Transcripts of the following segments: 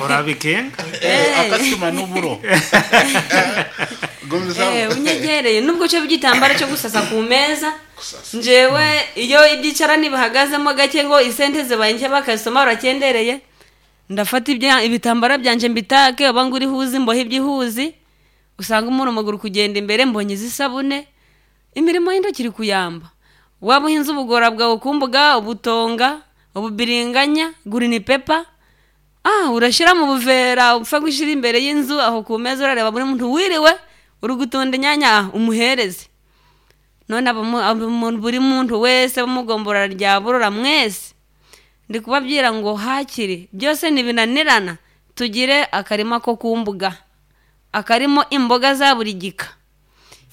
Orabikenga. Eh. Akasitoma n'oburo. Gumizamu. Eh, unyegereye nubwo cyo by'igitambaro cyo gusasa ku meza Kusasa. njewe iyo ibyicarani bihagazemo gake ngo isente zibaye nke bakasoma urakendereye ndafata ibitambaro byanje mbitake oba ngo urihuzi mbohe ibyihuzi usanga umuntu amaguru kugenda imbere mbonye izisabune imirimo y'intoki iri kuyamba waba uhinze ubugora bwawe kumbuga ubutonga ububiringanya gurini pepa ah urashyira mu buvera upfa gushyira imbere y'inzu aho ku meza urareba buri muntu wiriwe uri gutunda inyanya ah, umuhereze none buri muntu wese bamugombora rya burora mwese ndi kubabwira ngo hakiri byose ntibinanirana tugire akarima ko ku mbuga akarimo imboga za buri gika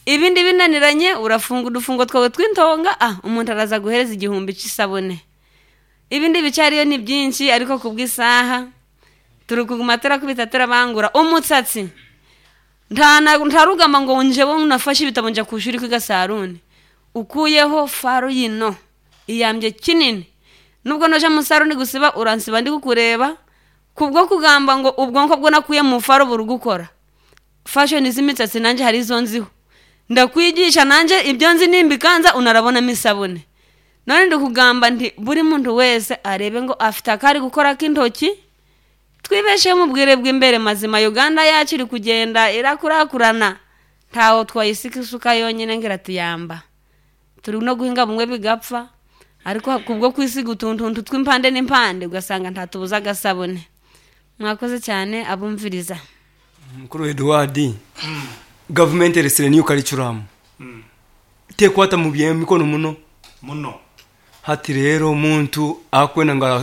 ibindi binaniranye urafunga udufungo twawe tw'intonga ah umuntu araza guhereza igihumbi cy'isabune ibindi bicariyo ni byinshi ariko ku bw'isaha turi kuguma turakubita turabangura umutsatsi ntarugamba ngo njewe nafashe ibitabo nja ku ishuri kwiga sarune ukuyeho faro yino iyambye kinini nubwo noja mu saruni gusiba uransiba ndi kukureba kubwo kugamba ngo ubwonko bwo nakuye mu faro buri gukora fashion z'imisatsi nanjye hari izo nziho ndakwigisha nanjye ibyo nzi nimbikanza unarabonamo isabune none ndi kugamba nti buri muntu wese arebe ngo afite akari gukora k'intoki twibesheho mu bwire bw'imbere mazima uganda yacu iri kugenda irakurakurana ntawo twayisika isuka yonyine ngo iratuyamba turi no guhinga bumwe bigapfa ariko kubwo kwisiga utuntu tw'impande n'impande ugasanga ntatubuze agasabune mwakoze cyane abumviriza Mukuru Edward, gavumenti eresire niyo curriculum tekwata mu byemikono muno Muno. hati rero omuntu akwenda nga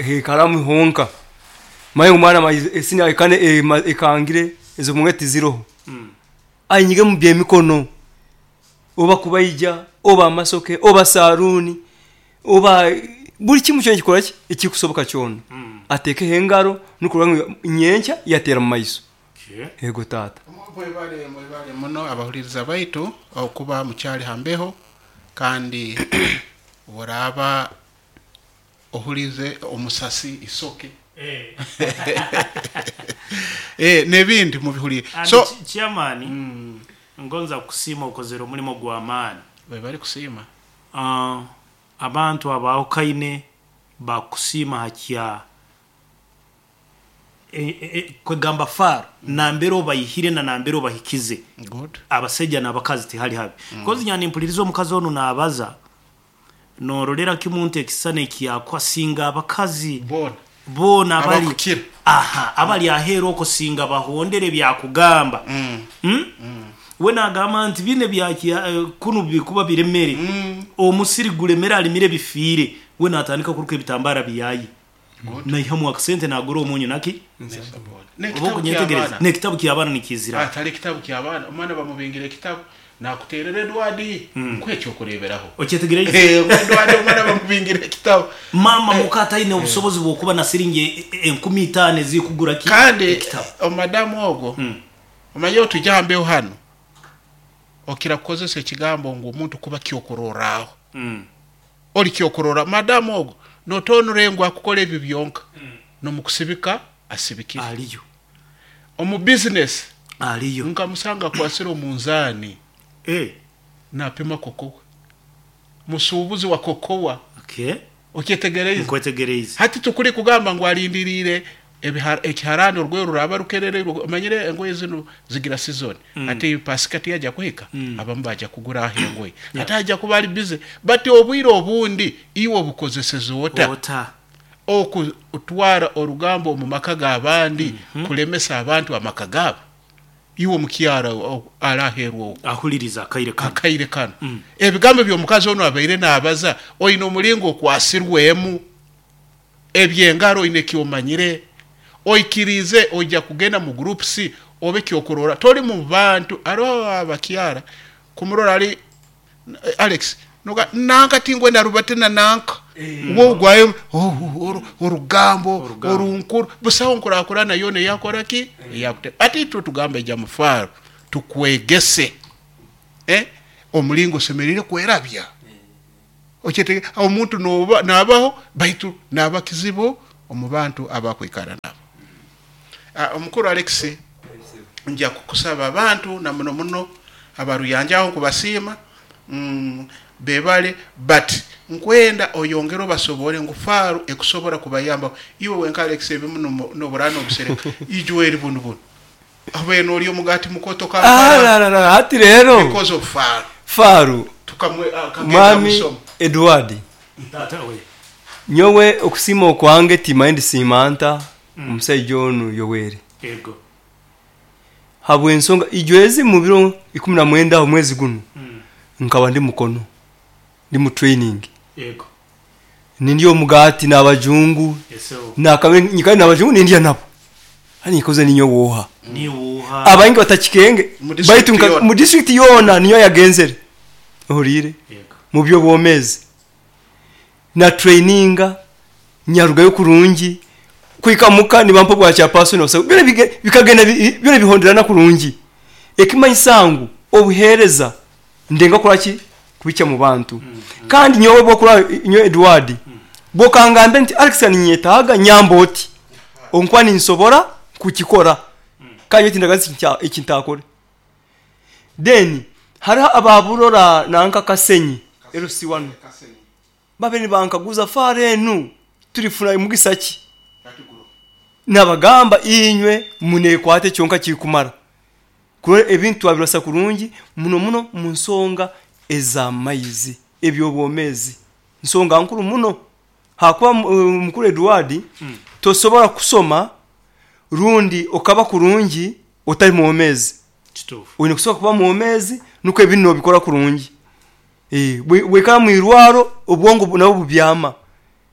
hekaramu honka maye omwana esini ekane ekangire ezo mwe tiziroho ayinyige mu byemikono oba kubayija oba amasoke oba saruni oba buli kimu kyona kikola ki ekikusoboka kyona atekeho engaro nukurora ngu nyenkya yatera mu maiso. Okay. Ego taata. Mwebale mwebale muno abahuliriza baitu okuba mukyali hambeho kandi oraba ohulize omusasi isoke Eh. eh n'ebindi mubihulire And so chairman, ngonza kusiima okozere omulimo gw'amaani. webale kusiima. Abantu abahukaine bakusiima hakya kwegamba far nambere obayihire na nambere obahikize. Good. Abasajja n'abakazi tihali habi. Kozi nyani mpuliriza omukazi ono n'abaza norolera kimuntu ekisana ekyakwasiinga abakazi Bona. boona abali Abakukira. aha abali aheera okusinga bahondere byakugamba. We nagamba nti bine byakya kunu bikuba biremere. Omusiri gulemere alimire bifiire. We natandika kuruka ebitambara biyayi. Naihamu akasente nagura omunyu naki N'ekitabu oba okunyetegereza ky'abaana. n'ekitabu ky'abaana nikizira. Atari ekitabu ky'abaana omwana bamubingira ekitabu nakuterera Edward nkwekyokureberaho. Okyetegereza Edward omwana bamubingira ekitabu. Mama muka ataine obusobozi bw'okuba na siringi 5000 ezikugura ki kandi ekitabu. omadamu ogwo omanye otujja hambeho hano okira kukozesa ekigambo ngu omuntu kuba kyokuroraaho. Ori kyokurora madamu ogwo notonure ngu akukora ebyo byonka nomukusibika asibikire Aliyo. Omu business Aliyo. nkamusanga akwasire omunzaani napima kokowa musuubuzi wa kokowa. Okay. Okyetegereize. Nkwetegereize. Hati tukuri kugamba ngu alindiriire ekiharani orweru ruraba rukerere omanyire engoye zinu zigira season. Ati pasika tiyajya kuhika abamu bajya kugura aho engoye ati ajya kuba ari busy but obwire obundi iwe obukozeseze ota Ota. Okutwara orugambo omu maka g'abandi kulemesa abantu amaka gaabo iwe omukyara araherwa okwo Ahuliriza akaire kano. Akaire kano. Ebigambo by'omukazi ono abaire naabaza oine omulingo okwasirwemu ebyengaro oine kyomanyire oikirize ojja kugenda mu group C obe kyokurora tori mu bantu aro abakyara kumurora ari Alex noga nanka tingwe narubate na nanka wo gwayo orugambo orunkuru busaho nkurakura nayo ne yakora ki yakute ati tu tugambe ja mufaro tukwegese omulingo semerire kwerabya okete omuntu noba nabaho baitu naba kizibu omu bantu abakwikara nabo. Omukuru Alex, nja kukusaba abantu na muno muno abaruyanja aho nkubasiima, bebale, but nkwenda oyongere obasobore ngu faaru ekusobora kubayambaho. Iwe wenka Alex ebimu nobura nobisereka. Ijweri bunu bunu. Obaire norya omugati mukoto Kampala Ararara hati rero because of faaru. Faaru Tukamwe akagenda Mwami musomo. Edward. Taata we. Nyowe okusiima okwange timanye ndisiima nta omusaija onu Yoweri. Ego. Habw'ensonga ijwezi mu biro 19 omwezi gunu nkaba ndi Mukono ndi mu training. Ego. Nindya omugati n'abajungu. Yes, sir. Nakabe nyikare n'abajungu nindya nabo. Hati nikoze ninyowe oha. Niwe oha. Abaingi batakikenge. Mu district Baitu yoona. mu district yoona niyo yagenzere. Ohuriire? Yego. Mu by'obwomezi. Na traininga nyarugayo kurungi kwika muka nibampa bwa chairperson obasa byona bikagenda byona bihonderana kurungi. Ekimanyisa ngu obuhereza ndenga kora ki kubikya mu bantu. Kandi nyowe bwokora nyowe Edward bwokangambe nti Alex ninyetaaga nyamba oti onkuba ninsobora kukikora. Kandi nyowe tindagazi ekintakore. Then hariho ababurora nanka Kasenyi LC1 babe nibankaguza fare enu turifuna mugisa ki? Nabagamba inywe munekwate kyonka kikumara. Kurora ebintu twabirasa kurungi muno muno mu nsonga ez'amaizi eby'obwomezi. Nsonga nkuru muno. Hakuba mukuru Edward tosobora kusoma rundi okaba kurungi otari mwomezi. Kituufu. Oine kusobola kuba mwomezi nukwo ebintu nobikora kurungi. Bwekaba mwirwaro obwongo nabwo bubyama.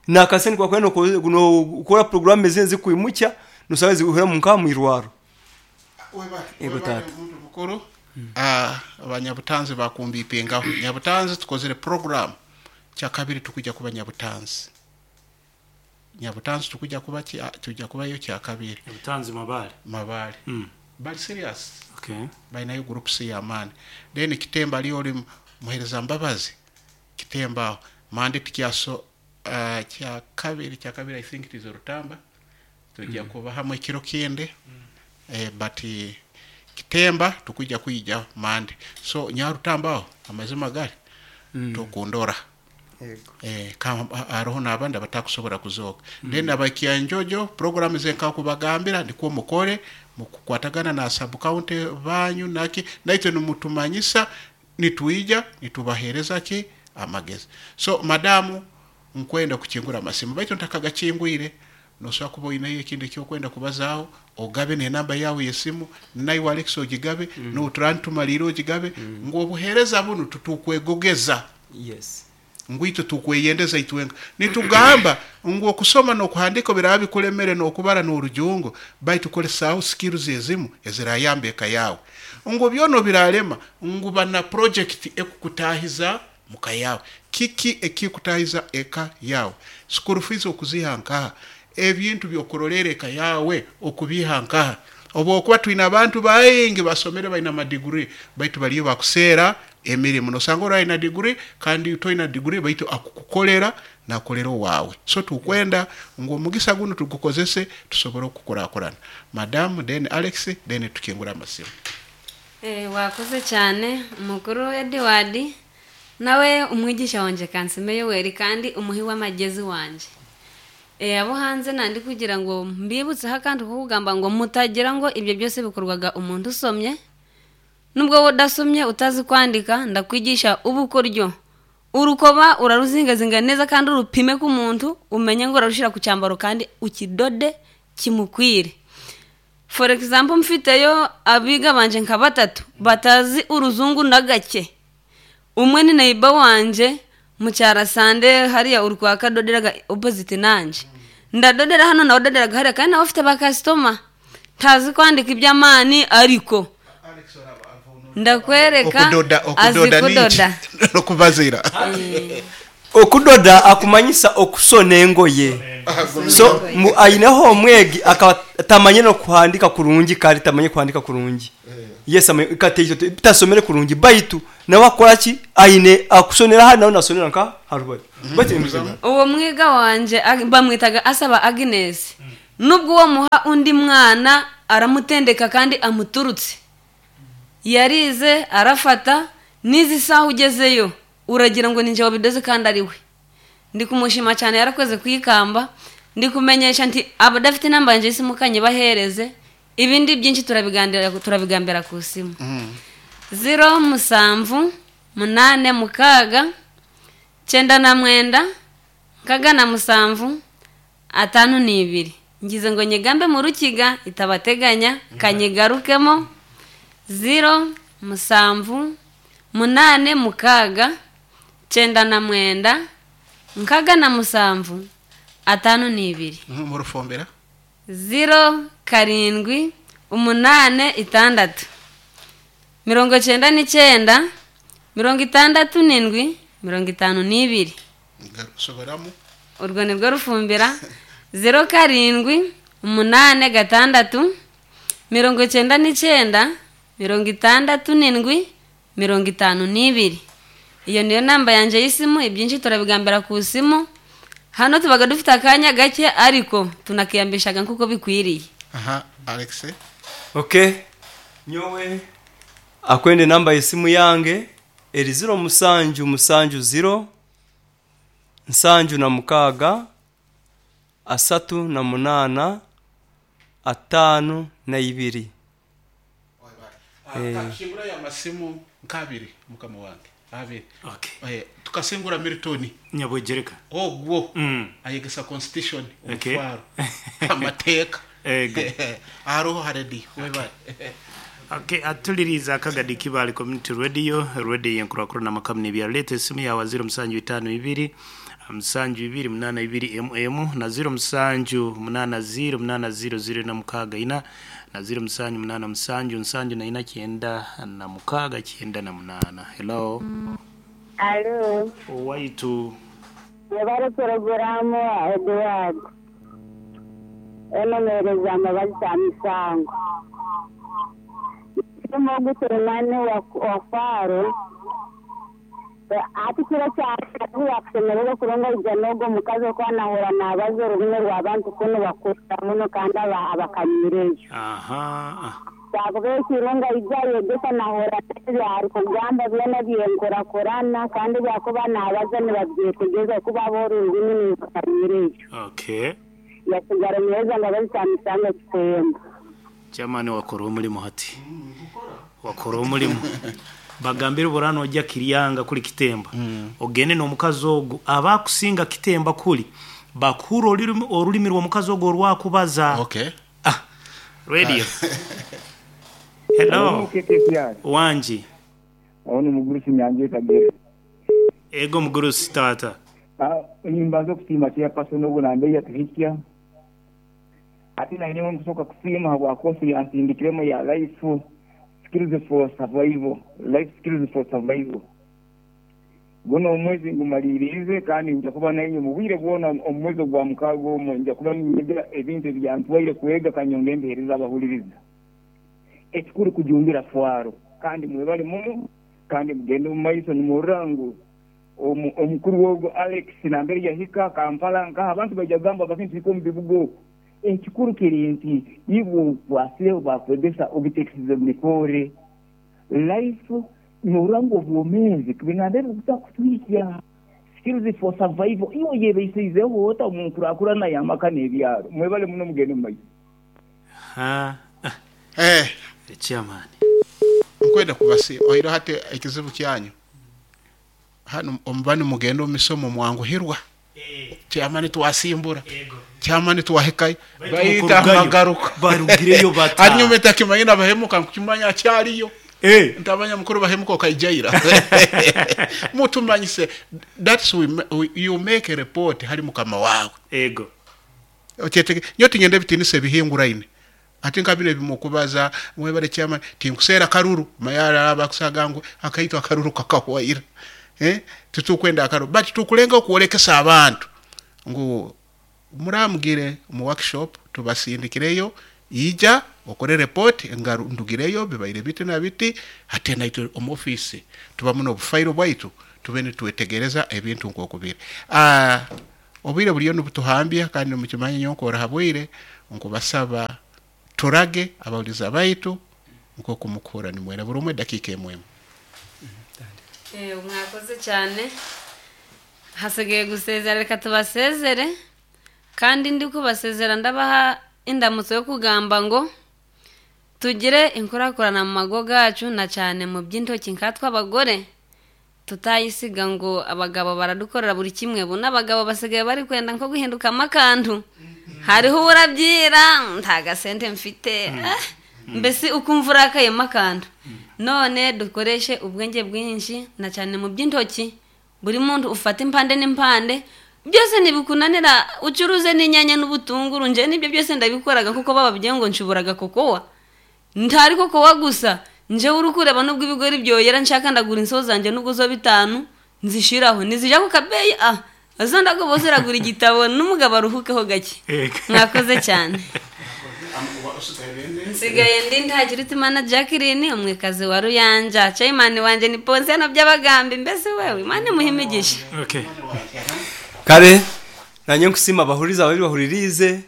Nakasente kwakwenda nokora programu ezindi zikuimukya nosanga zihura munka mwirwaro. Ego Webale tata. omuntu mukuru. Abanyabutanzi bakumbipingaho. Nyabutanzi tukozere program kyakabiri tukujja kuba nyabutanzi. Nyabutanzi tukujja kuba tujja kubayo kyakabiri. Nyabutanzi Mabale. Mabale. Bali serious. Okay. Balinayo groups ya maani. Then Kitemba aliyo oli muhereza Mbabazi. Kitemba aho. Mande tikyaso kyakabiri I think it is Rutamba. Tujja kuba hamwe ekiro kindi. But Kitemba tukujja kwijja mande. So Nyarutamba aho amazima gari tukundora. Kama aroho n'abandi abatakusobora kuzooka. Then abakyanjojo program ze nkakubagambira ndikwo mukore mukukwatagana na sub county banyu naki naitwe nimutumanyisa nituija nitubahereza ki amagezi. So madamu nkwenda kuchingura amasimu baitu ntakagachingwire nosobola kuba oineyo ekindi ekyokwenda kubazaaho ogabe n'enamba yawe y'esimu naiwe Alex ogigabe n'oturantumalire ogigabe ngu obuhereza bunu tutukwegogeza. Yes. Ngu itwe tukweyendeza itwenga. Nitugamba ngu okusoma n'okuhandika biraba bikulemere n'okubara n'orujungu baitu kolesaho skills ezimu ezirayamba eka yawe. Ngu byono biralema ngu bana project ekukutahiza muka yawe. Kiki ekikutahiza eka yawe? School fees okuziha nkaha? Ebintu byokurolera eka yawe okubiha nkaha? Obo okuba twina abantu baingi basomere balina amadiguri baitu baliyo bakuseera emirimu. Nosanga ori alina degree kandi toina degree baitu akukukolera nakolera owawe. So tukwenda ngu omugisa guno tugukozese tusobole okukurakurana. Madam then Alex then tukingura amasimu. Wakoze cyane mukuru Edward nawe umwigisha wanje Kansime Yoweri kandi umuhi w'amagezi wanje. Abo hanze nandi kugira ngo mbibutseho akantu ko kugamba ngo mutagira ngo ibyo byose bikorwaga umuntu usomye. Nubwo wowe udasomye utazi kwandika ndakwigisha ubukoryo. Urukoba uraruzingazinga neza kandi urupime ku muntu umenye ngo urarushira ku cyambaro kandi ukidode kimukwire. For example mfiteyo abiga banje nka batatu batazi uruzungu na gake. Umwe ni neighbor wanje mu Cyarasande hariya urwa kadoderaga opposite nanje. Ndadodera hano nawe doderaga hariya kandi nawe afite ba customer. Ntazi kwandika iby'amani ariko ndakwereka azi Okudoda ni kudoda. iki? No kubazira. Okudoda akumanyisa okusona engoye. So aineho omwegi akaba tamanye no kuhandika kurungi kandi tamanye kuhandika kurungi. Yes, katejo tasomere kurungi baitu nawe akora ki aine akusonera hano nawe nasonera nka harubaye. Baitu uwo mwiga wanje bamwitaga asaba Agnes. Nubwo uwo muha undi mwana Aramutendeka kandi amuturutse. Yarize arafata n'izi saha ugezeyo uragira ngo ninjye wabidoze kandi ari we. Ndi kumushima cyane yarakoze kwikamba. Ndi kumenyesha nti abadafite inamba yanjye y'isimu kanyibahereze, ibindi byinshi turabiganira turabigambira ku simu. 0 7 8 6 9 6 7 5 2. Ngize ngo nyigambe mu rukiga itabateganya, kanyigarukemo. 0 7 8 6 9 6 7 5 2. Mu rufumbira? 0 7 8 6 99 67 52. Soberamo. Urwo ni rwo rufumbira. 0 7 8 6 99 67 52. Iyo niyo namba yanjye y'isimu. Ibyinshi turabigambira ku simu. Hano tubaga dufite akanya gake ariko tunakiyambishaga nk'uko bikwiriye. Aha, Alex. Okay, nyowe akwende namba y'esimu yange eri 0 7 7 0 76 38 52. Kashingura ya masimu nkabiri mukama wange abiri. Okay. Tukasingura Milton. Nyabwegereka. Ogwo ayegesa constitution. Okay. Omutwaro amateeka. Ego. Aroho haredi webale. Okay, atuliriza akagadi Kibale Community Radio, radio yenkurakuru na makamuni byaleta esimu yawe 0752 72 82 mm na 07 80 80 na 64 na 07 8 7 7 4 96 98. Hello. Alo, Owaitu. mwebale poroguramu Edward. Enomereza amabazi ta misango. Mugu Selemani wa Faro. Ati kiro kya yakusemererwa kurunga ija n'ogwo mukazi okwanahura nabaza orurimi rw'abantu kunu bakura muno kandi abakanyireyo. Aha. Twavuga ekirunga ija yegesa nahura byari kugamba byona byenkurakurana kandi byakuba nabaza nibabyetegeza kuba b'orurimi nibakanyireyo. Okay. Yasigara meza nga bazitamisanga kitemba. Chairman wakora omulimu hati. Wakora omulimu. Bagambire burano ojja Kiryanga kuli Kitemba. Ogende n'omukazi ogwo abakusinga Kitemba kuli bakura olulimi rw'omukazi ogwo orwakubaza. Okay. Ah, radio. Hello. KKPR. Wanji. Aho ni mugurusi Nyange Kagere. Ego mugurusi tata. Nimbanza okusiima chairperson ogu nambe yatuhikya. Ate naine nkusoka kusiima habwa kosi yansindikiremu ya life skills for survival, life skills for survival. Guno omwezi ngumalirize kandi nja kuba nainye mu bwire bwona omwezi gwa 6 omwo nja kuba ninyega ebintu ebyantwaire kwega kanyonge mpeereza abahuliriza. Ekikuru kujumbira fwaro kandi mwebale muno kandi mugende mu maiso nimurora ngu omukuru wogo Alex nambere yahika Kampala nkaha abantu bajya gamba bakintu biko mu bibuga okwo. Ekikuru kiri nti ibo bwasireho bakwegesa obitekisize mikore life nuranga obwomeezi binambere butakutwikya skills for survival iyo yebeiseizeho ota omunkurakurana y'amaka n'ebyaro. Mwebale muno mugende mu maiso. Ha. Chairman. Nkwenda kubasi oiro hati ekizibu kyanyu. Hano omubani mugende omisomo mwanguhirwa. Chairman twasimbura. Chairman twahikayo. Bayita amagaruka. Barugireyo bata. Hanyuma etakimanyina bahemuka nkukimanya akyaliyo. Ntamanya mukuru bahemuka okaijaira. Mutumanyise that's you make a report hali mukama wawe. Ego. Okyetege nyo tingende bitinise bihinguraine. Ate nkabire bimukubaza mwebale chairman tinkusera karuru mayara abakusagangu akaitwa akaruru kakahwaira. Tutukwenda akaruru but tukulenga okuolekesa abantu ngu muramugire mu workshop tubasindikireyo ija okore report ngaru ndugireyo bibaire biti na biti ate naitwe omu office tuba muno obufairo bwaitu tubene twetegereza ebintu nkokubire. Obwire buriyo nibutuhambya kandi mukimanye nyonkora habwire nkubasaba Turage abahuriza baitu nk'oku mukuhura nimwera buri omwe dakiika emwe emwe. Mwakoze cyane. Hasigaye gusezera, reka tubasezere. Kandi ndi kubasezera ndabaha indamutso yo kugamba ngo tugire inkurakurana mu mago gacu, na cyane mu by'intoki nkatwe abagore, tutayisiga ngo abagabo baradukorera buri kimwe. Buno abagabo basigaye bari kwenda nko guhindukamo akantu, hariho urabyira nta gasente mfite, mbese ukumva urakayemo akantu. None dukoreshe ubwenge bwinshi na cyane mu by'intoki. Buri muntu ufata impande n'impande, byose ntibikunanira, ucuruze n'inyanya n'ubutunguru. Nje nibyo byose ndabikoraga kuko bababwiye ngo nshuburaga kokowa, ntari kokowa gusa. Nje uri kureba nubwo ibigori byoyera nshaka ndagura insoho zanjye nubwo zo 5 nzishiraho nizija ku kabeyi, azo ndagoboza iragura igitabo n'umugabo aruhukeho gake. Mwakoze cyane. Nsigaye ndi Ntakirutimana Jacqueline, umwekazi wa Ruyanja. Chairman wanje ni Ponsiano by'abagambi. Mbese wewe Imana imuhe imigisha. Kare nanye nkusima abahuriza babiri bahuririze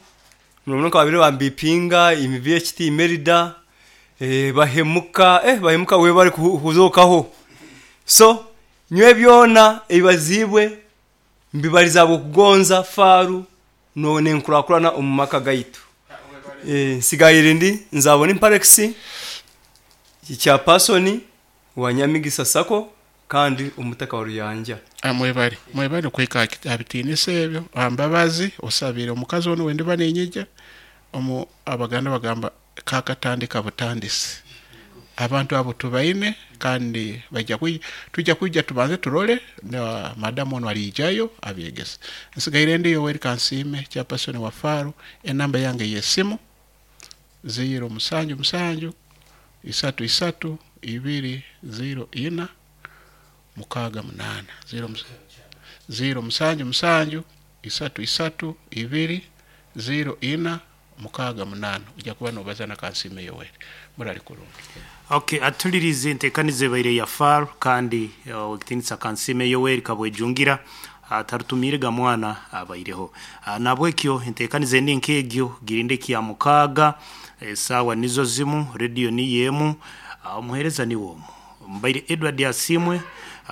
murabona ko babiri bambipinga imi VHT Merida, bahemuka, bahemuka we bari kuzokaho. So nywe byona ibazibwe mbibariza kugonza faru none nkurakurana umumaka gaitu. Nsigaye ndi nzabona imparexi cya pasoni wa Nyamigisa Sako kandi umutaka wa Ruyanja. Mwebale mwebale kwika abitinise ebyo ambabazi osabire omukazi ono wende banenyija omu abaganda bagamba kakatandika butandisi. Abantu abo tubaine kandi bajya tujya kujya tubanze turole na madamu ono alijayo abyegesa. Nsigaire ndi Yoweri Kansime cya pasoni wa Faru, enamba yange yesimu 0 7 7 3 3 2 0 4 6 8. 0 7 7 3 3 2 0 4 6 8. Ujya kuba nobaza na Kansime Yoweri murari kurungi. Okay, atulirize ntekanize baire ya Faru kandi wekitinisa Kansime Yoweri kabwejungira atarutumire gamwana abaireho. Nabwekyo ntekanize ndi nkegyo girinde kya mukaga, sawa nizo zimu radio ni yemu, umuhereza ni womu mbaire Edward Yasimwe,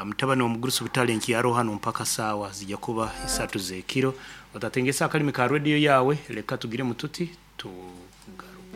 mutabani wa mugurusu butale nkiyaro hano mpaka sawa zijya kuba isatu zekiro. Utatengesa akalimi ka radio yawe, reka tugire mututi tu